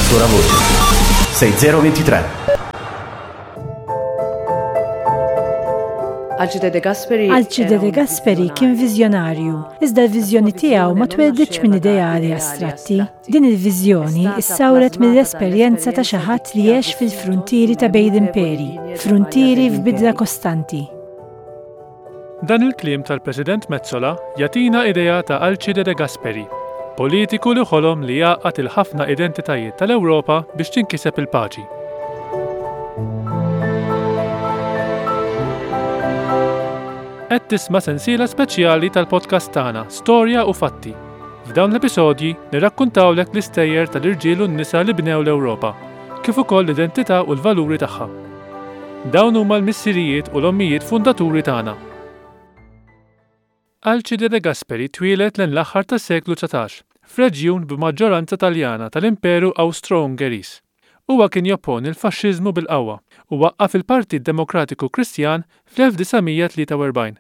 sola voce. 6023. Alcide De Gasperi Alcide De Gasperi kien viżjonarju, iżda l-viżjoni tiegħu ma twelditx minn ideali astratti. Din il-viżjoni issawret mill-esperjenza ta' xi ħadd li għex fil-fruntieri ta' bejn l-imperi, fruntieri f'bidla kostanti. Dan il-kliem tal-President Metsola jagħtina idea ta' Alcide De Gasperi, politiku li ħolom li jgħaqqad il-ħafna identitajiet tal-Ewropa biex tinkiseb il-paċi. Qed tisma' sensiela speċjali tal-podcast tagħna Storja u Fatti. F'dawn l-episodji nirrakkuntawlek l-istejjer tal-irġiel u n-nisa li bnew l-Ewropa, kif ukoll l-identità u l-valuri tagħha. Dawn huma l-missirijiet u l-ommijiet fundaturi tagħna. Alcide De Gasperi twieled lejn l-aħħar tas-seklu 19 f'reġjun b'maġġoranza Taljana tal-Imperu Awstro-Ungeriż. Huwa kien jopponi l-faxxiżmu bil-qawwa u waqqaf il-Partit Demokratiku Kristjan fl-1943.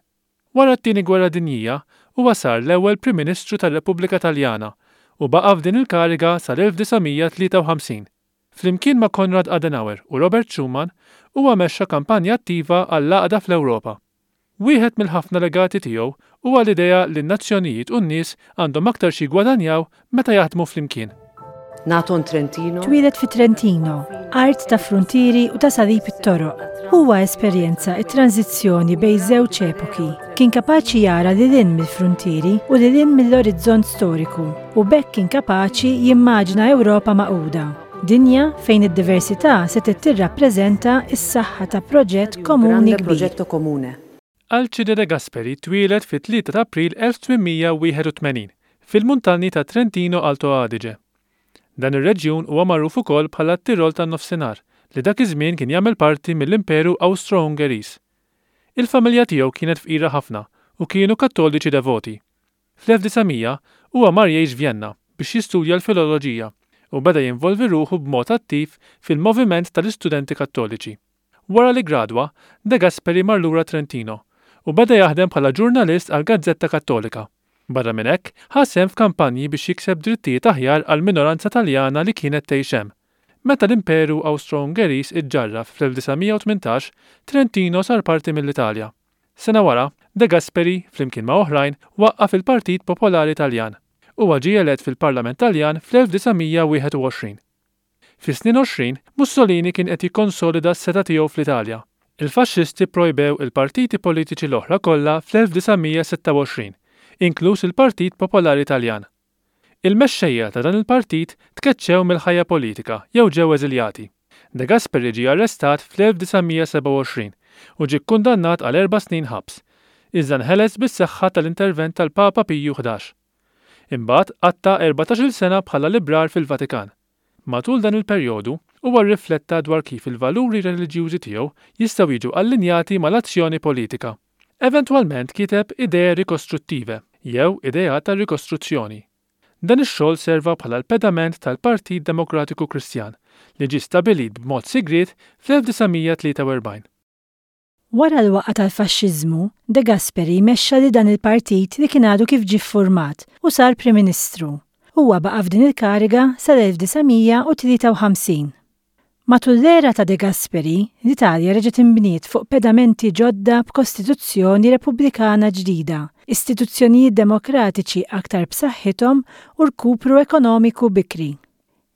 Wara t-Tieni Gwerra Dinjija, huwa sar l-ewwel Prim Ministru tar-Repubblika Taljana u baqa' f'din il-kariga sal-1953. Flimkien ma' Konrad Adenauer u Robert Schuman, huwa mexxa kampanja attiva għall-għaqda fl-Ewropa. Wieħed mill-ħafna legati tiegħu huwa l-idea li n-nazzjonijiet u n-nies għandhom aktar x'jiggwadanjaw meta jaħdmu flimkien. Nato in Trentino. Twieled fi Trentino, art ta' fruntieri u ta' salib it-toroq. Huwa esperjenza t-tranżizzjoni bejn żewġ epoki. Kien kapaċi jara lil hinn mill-fruntieri u lil hinn mill-orizzont storiku. U b'hekk kien kapaċi jimmaġina Ewropa magħquda, dinja fejn id-diversità setgħet tirrappreżenta s-saħħa ta' proġett komuni kbir. Alcide De Gasperi twieled fit-3 ta' April 1881 fil-muntanji ta' Trentino Alto Adige. Dan ir-reġjun huwa magħruf ukoll bħala t-Tirol tan-Nofsinhar li dak iż-żmien kien jagħmel parti mill-Imperu Awstro-Ungeriż. Il-familja tiegħu kienet fqira ħafna u kienu Kattoliċi devoti. Fl-1900 huwa mar jgħix Vjenna biex jistudja l-filoloġija u beda jinvolvi ruħu b'mod attiv fil-moviment tal-istudenti Kattoliċi. Wara li ggradwa, De Gasperi mar lura Trentino u beda jaħdem bħala ġurnalist għal gazzetta Kattolika. Barra minn hekk, ħa sehem f'kampanji biex jikseb drittijiet aħjar għall-minoranza Taljana li kienet tgħix hemm. Meta l-Imperu Awstro-Ungeriż iġġarraf fl-1918, Trentino sar parti mill-Italja. Sena wara, De Gasperi, flimkien ma' oħrajn, waqqaf il-Partit Popolari Taljan. Huwa ġie elett fil-Parlament Taljan fl-1921. Fis-snin 20, Mussolini kien qed jikkonsolida s-setgħa tiegħu fl-Italja. Il-Faxxisti pprojbew il-partiti politiċi l-oħra kollha fl-1926, inkluż il-Partit Popolari Taljan. Il-mexxejja ta' dan il-partit tkeċċew mill-ħajja politika jew ġew eżiljati. De Gasperi ġie arrestat fl-1927 u ġie kkundannat għal erba' snin ħabs, iżda nħeles bis-saħħa tal-intervent tal-Papa Piju 11. Imbagħad qatta' erbatax-il sena bħala librar fil-Vatikan. Matul dan il-perjodu, huwa rrifletta dwar kif il-valuri reliġjużi tiegħu jistgħu jiġu allinjati mal-azzjoni politika. Eventwalment kiteb Idee Ricostruttive, jew Ideat tar-Rikostruzzjoni. Dan ix-xogħol serva bħala l-pedament tal-Partit Demokratiku Kristjan, li ġie stabbilit b'mod sigriet fl-1943. Wara l-waqgħa tal-Faxxiżmu, De Gasperi mexxa lil dan il-partit li kien għadu kif ġie ffurmat u sar Prim Ministru. Huwa baqa' f'din il-kariga sal-1953. Matul l-era ta' De Gasperi, l-Italja reġgħet inbniet fuq pedamenti ġodda b'kostituzzjoni repubblikana ġdida, istituzzjonijiet demokratiċi aktar b'saħħithom u rkupru ekonomiku bikri.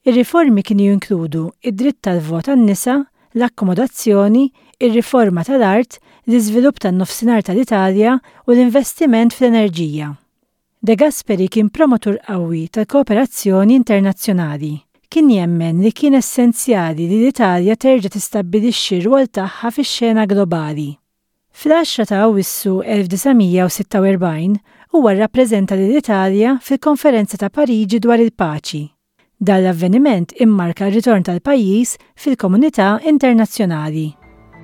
Ir-riformi kienu jinkludu d-dritt tal-vot għan-nisa, l-akkomodazzjoni, ir-riforma tal-art, l-iżvilupp tan-Nofsinhar tal-Italja u l-investiment fl-enerġija. De Gasperi kien promotur qawwi tal-kooperazzjoni internazzjonali. Kien jemmen li kien essenzjali li l-Italja terġa' tistabbilixxi r-rwol tagħha fix-xena globali. Fl-10 ta' Awwissu 1946, huwa rrappreżenta lill-Italja fil-Konferenza ta' Pariġi dwar il-Paċi. Dan l-avveniment immarka r-ritorn tal-pajjiż fil-komunità internazzjonali.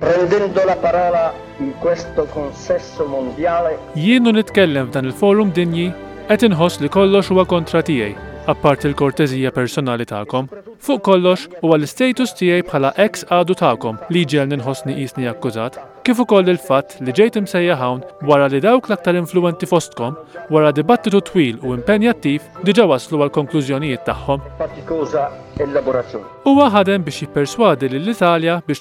Prendendo la parola in questo consesso mondiale. Jien u nitkellem f'dan il-forum dinji, qed inħoss li kollox huwa kontra tiegħi. apparti l-korteżija personali tagħkom. Fuq kollox, huwa l-istatus tiegħi bħala eks għadu tagħkom li jġegħelni nħossni qisni akkużat, kif ukoll il-fatt li ġejt imsejjaħ hawn wara li dawk l-aktar influwenti fostkom, wara dibattitu twil u impenjattiv, diġà waslu għall-konklużjonijiet tagħhom. Fatticosa elaborazione. Huwa ħadem biex jipperswadi lill-Italja biex.